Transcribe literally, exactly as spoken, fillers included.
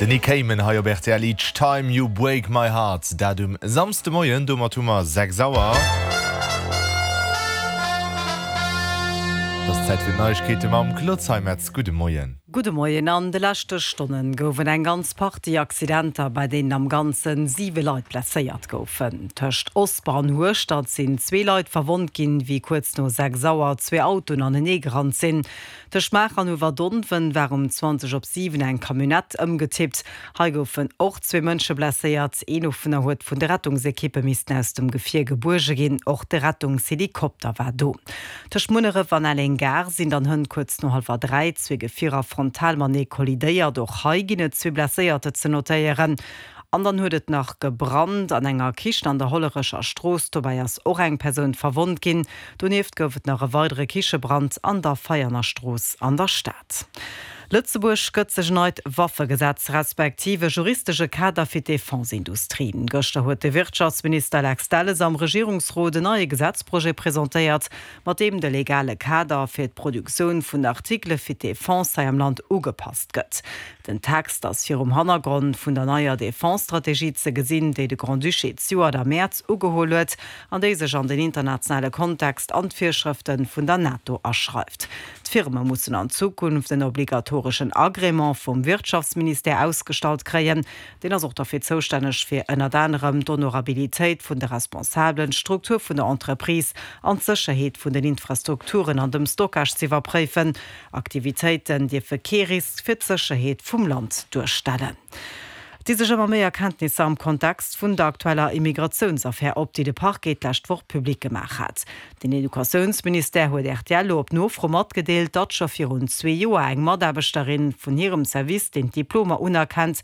Den Nick Cayman hei op rtl Each Time You Break My Heart dat um Samschdemoien, domat hu mer sechs Auer. Et ass Zäit fir d'Neiegkeete mam Claude Zeimetz. Gudde Moien. Gudde Moien. An de leschte Stonne gouf et eng ganz Partie Accidenter, bei deenen am Ganze siwe Leit blesséiert goufen. Tëscht Osper an Hueschtert sinn zwee Leit verwonnt ginn, wéi kuerz no sechs Auer zwee Autoen aneneegerannt sinn. Tëscht Maacher an Uewerdonwen war um zwanzeg op siwen eng Camionnette ëmgetippt. Hei goufen och zwee Mënsche blesséiert. Een dovunner huet vun de Rettungsekippe missten aus dem Gefier gebuerge ginn. Och de Rettungshelikopter war do. Tëscht Munneref an Elleng Gare sinn dann hënt kuerz no hallwer dräi zwee Gefierer frontal matenee kollidéiert. Och hei ginn et zwee Blesséierter ze notéieren. An dann huet et nach gebrannt an enger Kichen an der Hollerecher Strooss. Dobäi ass och eng Persoun verwonnt ginn. Donieft gouf et nach e weidere Kichebrand an der Veianer Strooss an der Stad. Lëtzebuerg gëtt sech en neit Waffegesetz respektiv e juristesche Kader fir d'Defense-Industrie. Gëschter huet de Wirtschaftsminister Lex Delles am Regierungsrot en neie Gesetzprojet presentéiert, mat deem de legale Kader fir d'Produktioun vun Artikele fir d'Defense hei am Land ugepasst gëtt. Den Text ass virum Hannergrond vun der neier Defense-Strategie ze gesinn, déi de Grand-Duché zejoert am Mäerz ugeholl huet an déi sech an den internationale Kontext an d'Virschrëfte vun der NATO aschreift. D'Firme mussen an Zukunft en obligatoreschen Agrément vum Wirtschaftsministère ausgestallt kréien. Deen ass och derfir zoustänneg, fir ënnert anerem d'Honorabilitéit vun de Responsabelen, d'Struktur vun der Entreprise an d'Sécherheet vun den Infrastrukturen an dem Stockage z'iwwerpréifen. Aktivitéiten dierfe kee Risk fir d'Sécherheet vum Land duerstellen. Et di sech ëmmer méi Erkenntnisser am Kontext vun der aktueller Immigratiounsaffär op, déi de Parquet d'lescht Woch public gemaach hat. Den Educatiounsministère huet rtl elo op Nofro matgedeelt, datt scho virun zwee Joer eng Mataarbechterin vun hirem Service, deen d'Diplomer unerkennt,